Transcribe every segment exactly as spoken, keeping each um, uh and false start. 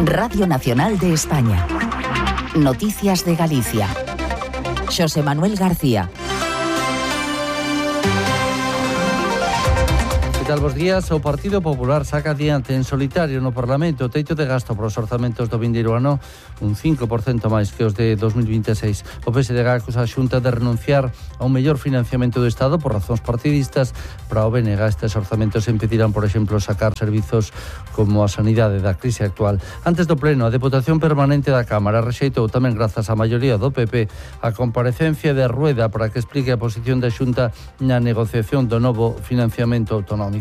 Radio Nacional de España. Noticias de Galicia. Xosé Manuel García. tal, bos días. O Partido Popular saca adiante en solitario no Parlamento o teito de gasto para os orzamentos do vindeiro ano, un cinco por cento máis que os de dos mil vinte e seis. O P S D G acusa a Xunta de renunciar a un mellor financiamento do Estado por razóns partidistas. Para o B N G estes orzamentos impedirán, por exemplo, sacar servizos como a sanidade da crise actual. Antes do pleno, a Deputación Permanente da Cámara rexeitou tamén grazas á maioría do P P a comparecencia de Rueda para que explique a posición da Xunta na negociación do novo financiamento autonómico.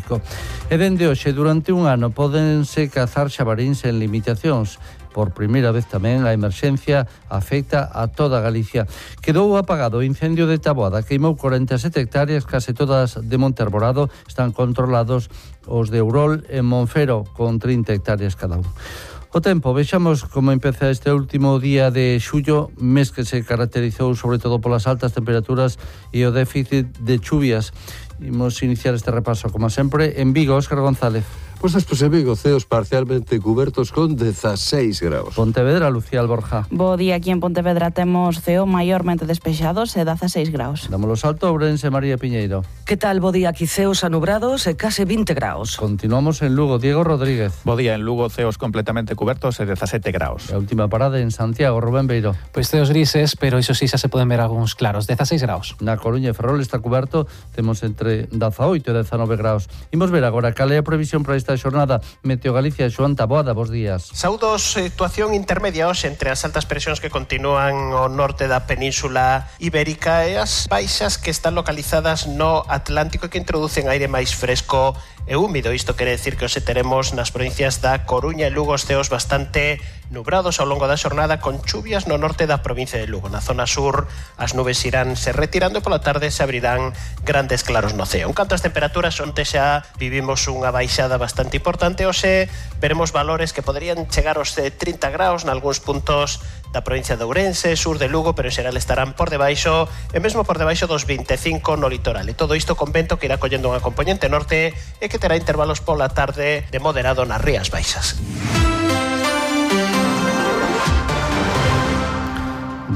E dende hoxe, durante un ano, pódense cazar xabaríns en limitacións. Por primeira vez tamén a emerxencia afecta a toda Galicia. Quedou apagado o incendio de Taboada, queimou corenta e sete hectáreas, case todas de Monte Arborado. Están controlados os de Eurol e Monfero, con trinta hectáreas cada un. O tempo, vexamos como empeza este último día de xullo, mes que se caracterizou sobre todo polas altas temperaturas e o déficit de chuvias. Imos iniciar este repaso, como sempre, en Vigo. Óscar González. Pues despois en Vigo, ceos parcialmente cubertos con dezaseis graus. Pontevedra, Lucía Alborja. Bo día, aquí en Pontevedra temos ceo maiormente despexados e dezaseis graus. Dámolo salto, Ourense, María Piñeiro. Que tal, bo día, aquí ceos anubrados e case vinte graus. Continuamos en Lugo, Diego Rodríguez. Bo día, en Lugo, ceos completamente cubertos e dezasete graus. A última parada en Santiago, Rubén Beiro. Pois ceos grises, pero iso sí xa se poden ver algúns claros, dezaseis graus. Na Coruña e Ferrol está cuberto, temos entre dezaoito e dezanove graus. Imos ver agora cal é a previsión para esta xornada. Meteo Galicia, Xoán Taboada, bos días. Saúdos, situación intermedia hoxe entre as altas presións que continúan ao norte da península ibérica e as baixas que están localizadas no Atlántico e que introducen aire máis fresco e húmido. Isto quere decir que hoxe teremos nas provincias da Coruña e Lugo os ceos bastante nubrados ao longo da xornada, con chuvias no norte da provincia de Lugo. Na zona sur as nubes irán se retirando e pola tarde se abrirán grandes claros no ceo. En canto ás temperaturas, onte xa vivimos unha baixada bastante importante. Hoxe veremos valores que poderían chegar aos trinta graus nalgúns puntos da provincia de Ourense, sur de Lugo, pero en xeral estarán por debaixo e mesmo por debaixo dos vinte e cinco no litoral. E todo isto con vento que irá collendo unha componente norte e que terá intervalos pola tarde de moderado nas rías baixas.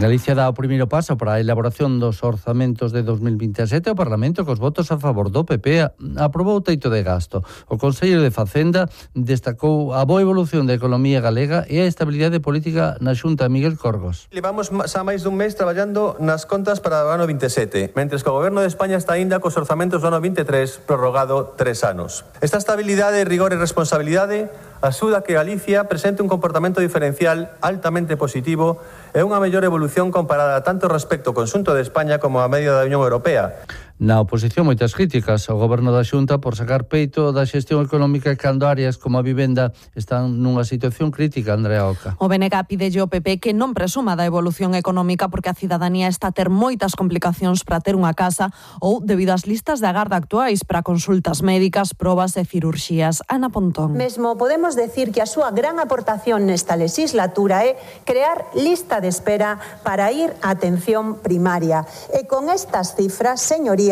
Galicia dá o primeiro paso para a elaboración dos orzamentos de dos mil vinte e sete. O Parlamento, cos votos a favor do P P, aprobou o teito de gasto. O Conselleiro de Facenda destacou a boa evolución da economía galega e a estabilidade política na Xunta. Miguel Corgos. Levamos xa máis dun mes traballando nas contas para o ano vinte e sete, mentres que o Goberno de España está aínda cos orzamentos do ano vinte e tres prorrogado tres anos. Esta estabilidade, rigor e responsabilidade axuda a que Galicia presente un comportamento diferencial altamente positivo e unha mellor evolución comparada tanto respecto ao conxunto de España como a media da Unión Europea. Na oposición, moitas críticas ao Goberno da Xunta por sacar peito da xestión económica cando áreas como a vivenda están nunha situación crítica. Andrea Oca. O B N G pide ao P P que non presuma da evolución económica porque a cidadanía está a ter moitas complicacións para ter unha casa ou debido ás listas de agarda actuais para consultas médicas, probas e cirurxías. Ana Pontón. Mesmo podemos decir que a súa gran aportación nesta legislatura é crear lista de espera para ir á atención primaria. E con estas cifras, señoría,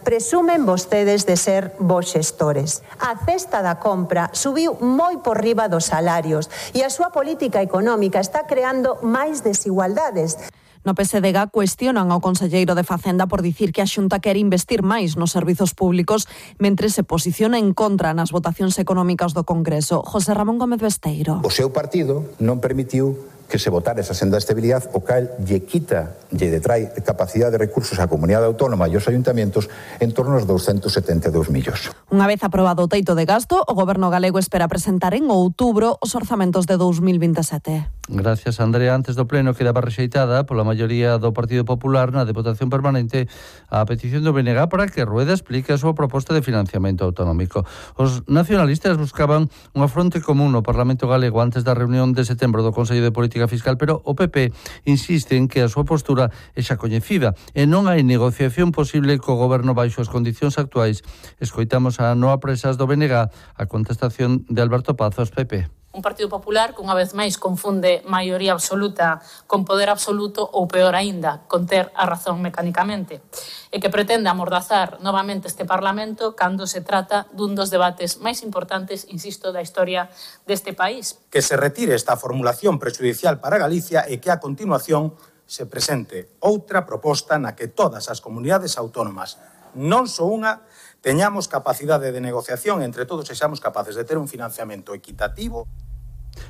presumen vostedes de ser vos xestores. A cesta da compra subiu moi por riba dos salarios e a súa política económica está creando máis desigualdades. No P S D G cuestionan ao conselleiro de Facenda por dicir que a Xunta quere investir máis nos servizos públicos mentre se posiciona en contra nas votacións económicas do Congreso. José Ramón Gómez Besteiro. O seu partido non permitiu que se votara esa senda de estabilidade, o cal lle quita, lle detrai capacidade de recursos á comunidade autónoma e aos ayuntamientos en torno aos douscentos setenta e dous millóns. Unha vez aprobado o teito de gasto, o Goberno galego espera presentar en outubro os orzamentos de dos mil vinte e sete. Gracias, Andrea. Antes do pleno quedaba rexeitada pola maioría do Partido Popular na Deputación Permanente a petición do B N G para que Rueda explique a súa proposta de financiamento autonómico. Os nacionalistas buscaban unha fronte común no Parlamento galego antes da reunión de setembro do Consello de Política Fiscal, pero o P P insiste en que a súa postura é xa coñecida e non hai negociación posible co Goberno baixo as condicións actuais. Escoitamos a Noa Presas do B N G a contestación de Alberto Pazos, P P. Un Partido Popular que unha vez máis confunde maioría absoluta con poder absoluto ou, peor aínda, con ter a razón mecánicamente, e que pretende amordazar novamente este Parlamento cando se trata dun dos debates máis importantes, insisto, da historia deste país. Que se retire esta formulación prexudicial para Galicia e que a continuación se presente outra proposta na que todas as comunidades autónomas, non só unha, teñamos capacidade de negociación entre todos e sexamos capaces de ter un financiamento equitativo.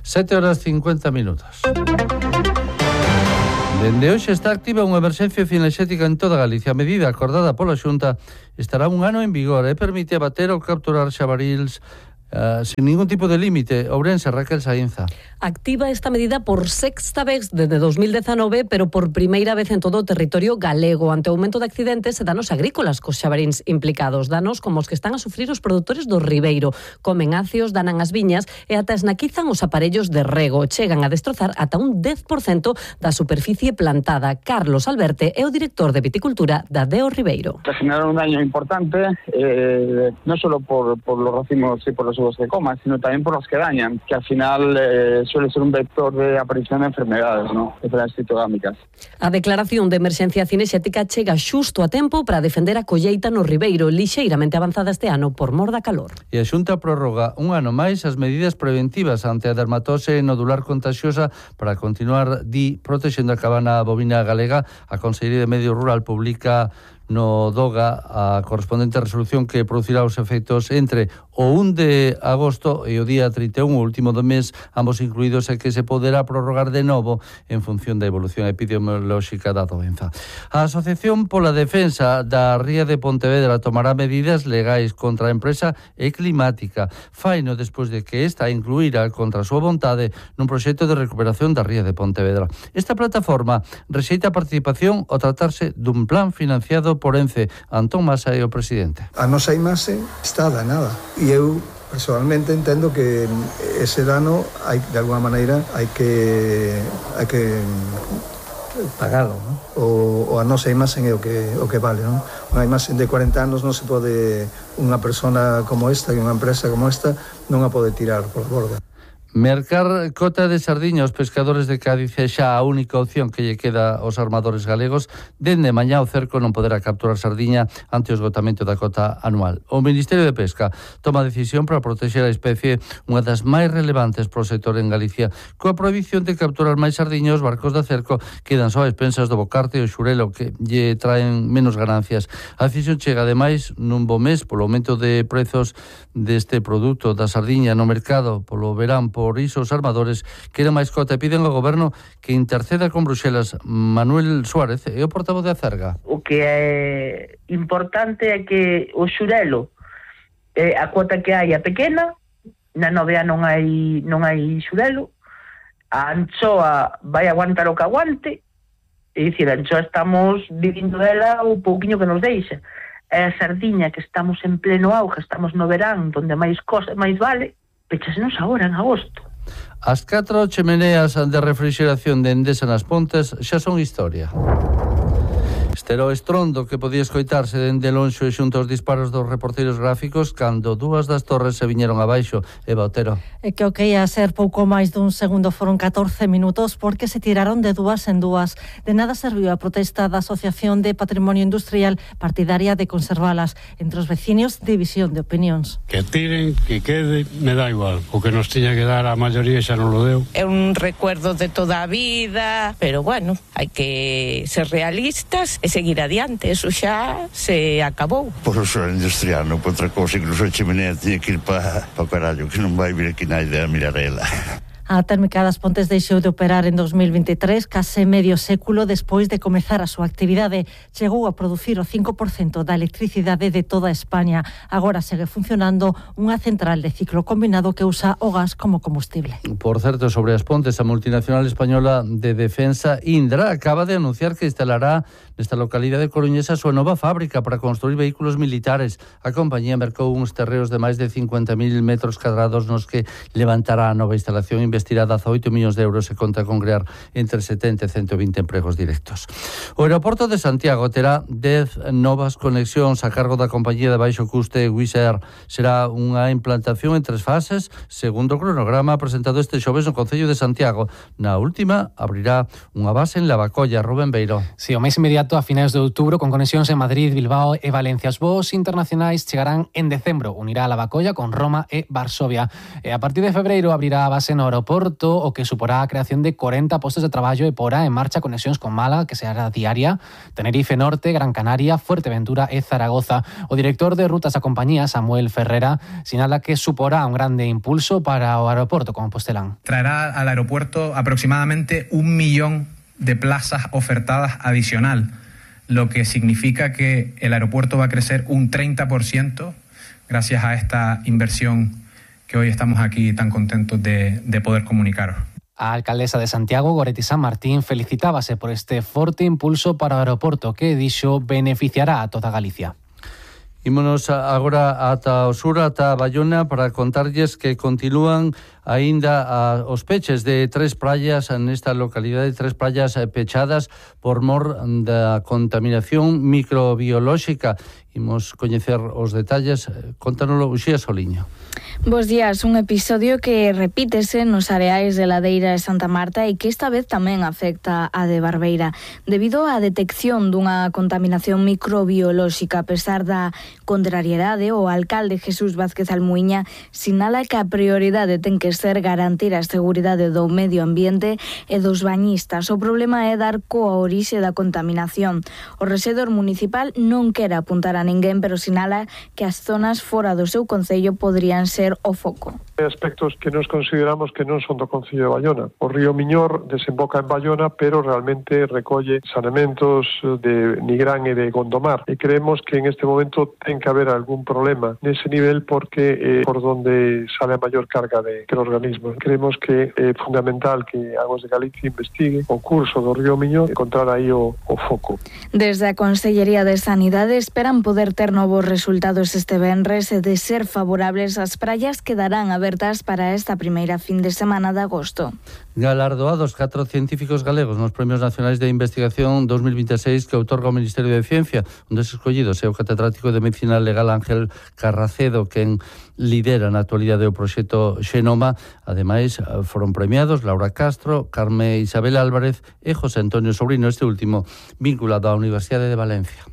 sete horas cincuenta minutos. Dende hoxe está activa unha emerxencia cinexética en toda Galicia. A medida acordada pola Xunta estará un ano en vigor e permite abater ou capturar xabarils Uh, sin ningún tipo de límite. Ourense, Raquel Sainza. Activa esta medida por sexta vez desde dos mil dezanove, pero por primeira vez en todo o territorio galego, ante o aumento de accidentes e danos agrícolas cos xabaríns implicados. Danos como os que están a sufrir os produtores do Ribeiro. Comen acios, danan as viñas e ata esnaquizan os aparellos de rego. Chegan a destrozar ata un dez por cento da superficie plantada. Carlos Alberte é o director de viticultura da Deo Ribeiro. Se generaron un daño importante, eh, non só por, por los racimos e por los uvos de coma, sino también por los que dañan, que al final eh, suele ser un vector de aparición de enfermedades, ¿no?, enfermedades fitogámicas. A declaración de emerxencia cinexética chega xusto a tempo para defender a colleita no Ribeiro, lixeiramente avanzada este ano por mor da calor. E a Xunta prorroga un ano máis as medidas preventivas ante a dermatose nodular contagiosa para continuar, di, protexendo a cabana bovina galega. A Consellería de Medio Rural publica no DOGA a correspondente resolución que producirá os efectos entre o un de agosto e o día trinta e un, o último do mes, ambos incluídos, e que se poderá prorrogar de novo en función da evolución epidemiolóxica da doenza. A Asociación pola Defensa da Ría de Pontevedra tomará medidas legais contra a empresa e climática. Faino despois de que esta incluíra contra a súa vontade nun proxecto de recuperación da Ría de Pontevedra. Esta plataforma rexeita a participación ao tratarse dun plan financiado por Ence. Antón Masa é o presidente. A nosa imaxe está danada e eu personalmente entendo que ese dano hai, de alguma maneira hai que hai que pagalo, ¿no? O, o a nosa imaxe é o que o que vale, ¿no? Unha imaxe de corenta anos non se pode, unha persona como esta e unha empresa como esta non a pode tirar por borda. Mercar cota de sardiña aos pescadores de Cádiz é xa a única opción que lle queda aos armadores galegos. Dende mañá o cerco non poderá capturar sardiña ante o esgotamento da cota anual. O Ministerio de Pesca toma a decisión para protexer a especie, unha das máis relevantes pro sector en Galicia. Coa prohibición de capturar máis sardiña, os barcos da cerco quedan só a expensas do bocarte e o xurelo, que lle traen menos ganancias. A decisión chega ademais nun bo mes polo aumento de prezos deste produto da sardiña no mercado polo verán. Por iso os armadores queren máis cota e piden ao goberno que interceda con Bruxelas. Manuel Suárez é o portavoz de Acerga. O que é importante é que o xurelo, eh, a cuota que hai é pequena, na novea non hai non hai xurelo, a anchoa vai aguantar o que aguante, é dicir, a anchoa estamos vivindo dela o pouquiño que nos deixa. É a sardiña que estamos en pleno auge, estamos no verán, donde máis cosa, máis vale, pechasenos agora, en agosto. As catro chemeneas de refrigeración de Endesa nas Pontes xa son historia. Este era o estrondo que podía escoitarse dende lonxo e xunto aos disparos dos reporteros gráficos cando dúas das torres se viñeron abaixo. Eva Otero. E que o que ia ser pouco máis dun segundo foron catorce minutos porque se tiraron de dúas en dúas. De nada serviu a protesta da Asociación de Patrimonio Industrial partidaria de conservalas. Entre os veciños, división de opinións. Que tiren, que quede, me dá igual. O que nos tiña que dar a maioría xa non lo deu. É un recuerdo de toda a vida, pero bueno, hai que ser realistas e seguir adiante, eso xa se acabou. Por o suelo industrial, non por outra cousa, incluso a chimenea tiña que ir para pa carallo, que non vai vir aquí naide a mirar ela. A térmica das Pontes deixou de operar en dos mil veintitrés, case medio século despois de comezar a súa actividade. Chegou a producir o cinco por cento da electricidade de toda España. Agora segue funcionando unha central de ciclo combinado que usa o gas como combustible. Por certo, sobre as Pontes, a multinacional española de defensa Indra acaba de anunciar que instalará nesta localidade coruñesa a súa nova fábrica para construir vehículos militares. A compañía mercou uns terreos de máis de cincuenta mil metros cadrados nos que levantará a nova instalación investigadora investirá dezaoito millóns de euros e conta con crear entre setenta e ciento vinte empregos directos. O aeroporto de Santiago terá dez novas conexións a cargo da compañía de baixo custe Wizz Air. Será unha implantación en tres fases, segundo o cronograma presentado este xoves no Concello de Santiago. Na última, abrirá unha base en Lavacolla. Rubén Beiro. Si, o mes inmediato a finais de outubro con conexións en Madrid, Bilbao e Valencia. Os voos internacionais chegarán en decembro. Unirá a Lavacolla con Roma e Varsovia. E a partir de febreiro abrirá a base no aeroporto, o que suporá a creación de corenta postos de traballo e porá en marcha conexións con Málaga, que será diaria, Tenerife Norte, Gran Canaria, Fuerteventura e Zaragoza. O director de rutas da compañía, Samuel Ferrera, sinala que suporá un grande impulso para o aeroporto Compostelán. Traerá al aeropuerto aproximadamente un millón de plazas ofertadas adicional, lo que significa que el aeropuerto va a crecer un treinta por ciento gracias a esta inversión que hoy estamos aquí tan contentos de, de poder comunicaros. A alcaldesa de Santiago, Goretti San Martín, felicitábase por este forte impulso para o aeroporto que, dixo, beneficiará a toda Galicia. Ímonos agora ata o sur, ata Bayona, para contarlles que continúan aínda a, os peches de tres praias nesta localidade, tres praias pechadas por mor da contaminación microbiolóxica. Imos coñecer os detalles. Contánoslo Uxía Soliño. Bos días, un episodio que repítese nos areais de Ladeira de Santa Marta e que esta vez tamén afecta a de Barbeira. Debido á detección dunha contaminación microbiolóxica, a pesar da contrariedade, o alcalde Jesús Vázquez Almuíña sinala que a prioridade ten que ser garantir a seguridade do medio ambiente e dos bañistas. O problema é dar coa orixe da contaminación. O rexedor municipal non quere apuntar a ninguén, pero sinala que as zonas fora do seu concello poderían ser o foco. Hai aspectos que nos consideramos que non son do Concello de Bayona. O río Miñor desemboca en Bayona, pero realmente recolle saneamentos de Nigrán e de Gondomar. E creemos que en este momento ten que haber algún problema nese nivel porque é eh, por donde sale a maior carga de microorganismos. Creemos que é fundamental que Aguas de Galicia investigue o curso do río Miñor e encontrar aí o, o foco. Desde a Consellería de Sanidade esperan poder ter novos resultados este venres e de ser favorables as praias quedarán abertas para esta primeira fin de semana de agosto. Galardoados catro científicos galegos nos Premios Nacionais de Investigación dos mil veintiséis que outorga o Ministerio de Ciencia. Un dos escollidos é o catedrático de Medicina Legal Ángel Carracedo, quen lidera na actualidade o proxecto Xenoma. Ademais, foron premiados Laura Castro, Carme Isabel Álvarez e José Antonio Sobrino, este último vinculado á Universidade de Valencia.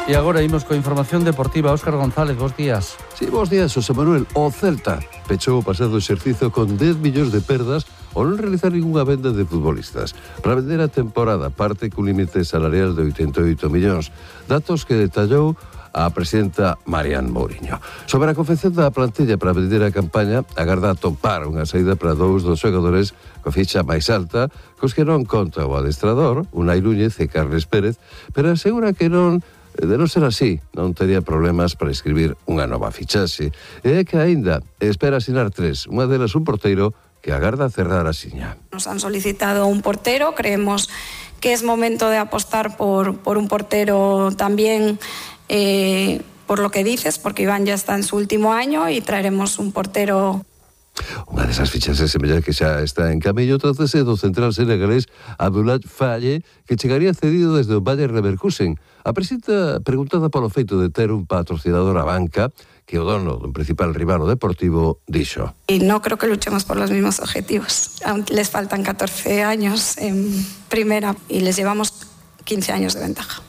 E agora imos coa información deportiva. Óscar González, bons días. Sí, bons días, José Manuel. O Celta pechou o pasado exercicio con dez millóns de perdas ao non realizar ningunha venda de futbolistas. Para vender a temporada parte cun límite salarial de oitenta e oito millóns. Datos que detallou a presidenta Marian Mourinho. Sobre a confección da plantilla para vender a campaña, agarda atopar unha saída para dous dos xogadores co ficha máis alta, cos que non conta o adestrador, Unai Núñez e Carles Pérez, pero asegura que non de non ser así, non tería problemas para escribir unha nova fichaxe. E é que aínda espera asinar tres, unha delas un porteiro que agarda cerrar a siña. Nos han solicitado un portero, creemos que es momento de apostar por, por un portero también eh, por lo que dices, porque Iván ya está en su último año y traeremos un portero. Unha desas fichaxes semella que xa está en camiño, trátase do central senegalés Abdoulaye Faye, que chegaría cedido desde o Bayer Leverkusen. A presidenta, preguntada polo feito de ter un patrocinador a banca, que o dono dun principal rival deportivo dixo: Y no creo que luchemos por los mismos objetivos. Aún les faltan catorce años en primera y les llevamos quince años de ventaja.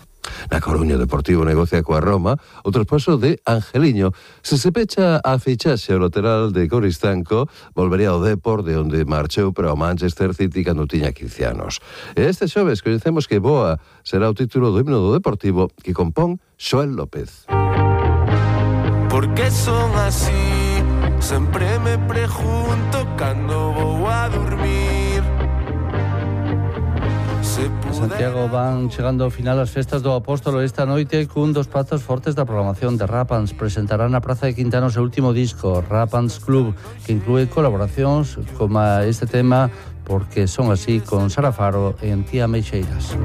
Na Coruña, Deportivo negocia coa Roma o traspaso de Angeliño. Se se pecha a fichaxe ao lateral de Coristanco, volvería ao Depor, de onde marchou para o Manchester City cando tiña quince anos. E este xoves coñecemos que Boa será o título do himno do Deportivo que compón Xoel López. Por que son así? Sempre me pregunto cando vou a dormir. En Santiago van chegando ao final as festas do Apóstolo esta noite cun dos prazos fortes da programación de Rapans. Presentarán na Praza de Quintana o seu último disco, Rapans Club, que inclúe colaboracións como este tema Porque son así con Sara Faro e Antía Meixeiras.